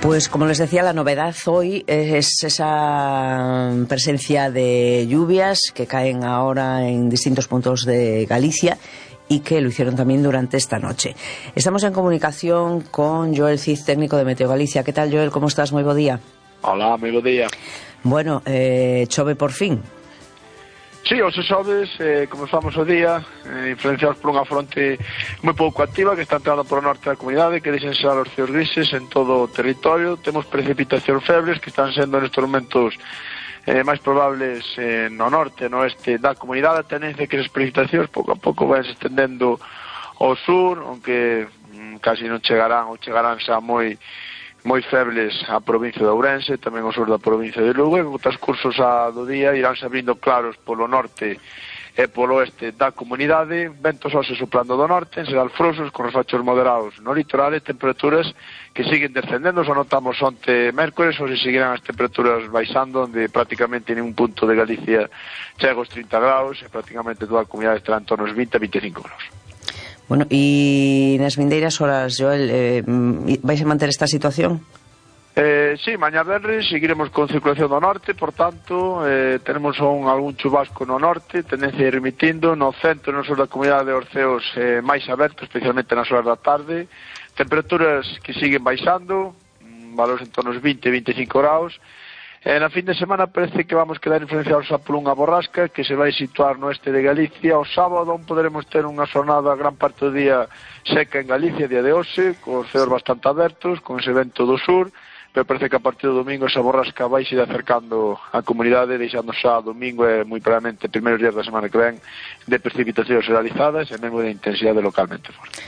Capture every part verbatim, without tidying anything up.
Pues como les decía, la novedad hoy es esa presencia de lluvias que caen ahora en distintos puntos de Galicia y que lo hicieron también durante esta noche. Estamos en comunicación con Joel Cid, técnico de Meteo Galicia. ¿Qué tal, Joel? ¿Cómo estás? Muy buen día. Hola, muy buen día. Bueno, eh, chove por fin. Sí, os xoves, eh, comenzamos o día eh, influenciados por unha fronte moi pouco activa que está entrando por o norte da comunidade, que deixen ser os ceos grises en todo o territorio. Temos precipitacións febles que están sendo nestes momentos eh, máis probables eh, no norte, no oeste da comunidade. A tendencia que as precipitacións pouco a pouco van se estendendo ao sur, aunque mm, casi non chegarán ou chegarán xa moi moi febles a provincia de Ourense, tamén o sur da provincia de Lugo, e os cursos a do día iránse abrindo claros polo norte e polo oeste da comunidade, ventos hoxe soplando do norte, en xeral frouxos, con refachos moderados no litoral, e temperaturas que siguen descendendo. Xa notamos onte mércores, hoxe seguirán as temperaturas baixando, onde prácticamente en un punto de Galicia chega os trinta graus, e prácticamente toda a comunidade estará en torno aos vinte a veinticinco graus. Bueno, e nas vindeiras horas, Joel, eh, vais a manter esta situación? Eh, sí, mañá venres seguiremos con circulación do norte, por tanto, eh, tenemos un, algún chubasco no norte, tendencia a ir remitindo, no centro e no sur da comunidade os ceos eh, máis abertos, especialmente nas horas da tarde, temperaturas que siguen baixando, valores en torno aos vinte a veinticinco graus. E na fin de semana parece que vamos quedar influenciados a por unha borrasca que se vai situar no oeste de Galicia. O sábado poderemos ter unha xornada gran parte do día seca en Galicia, día de hoxe, con os ceos bastante abertos, con ese vento do sur, pero parece que a partir do domingo esa borrasca vai se ir acercando á comunidade, deixando xa domingo e moi probablemente primeiros días da semana que ven de precipitacións realizadas e mesmo de intensidade localmente forte.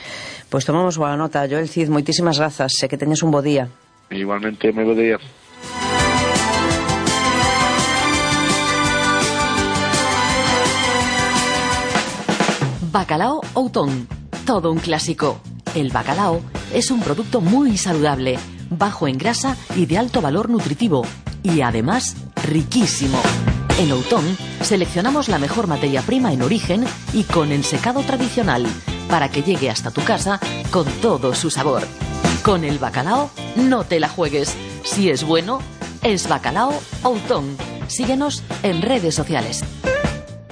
Pois tomamos boa nota, Joel Cid, moitísimas grazas, e que teñas un bo día. Igualmente, moi bo día. Bacalao Outón, todo un clásico. El bacalao es un producto muy saludable, bajo en grasa y de alto valor nutritivo, y además riquísimo. En Outón seleccionamos la mejor materia prima en origen y con ensecado tradicional, para que llegue hasta tu casa con todo su sabor. Con el bacalao no te la juegues. Si es bueno, es Bacalao Outón. Síguenos en redes sociales.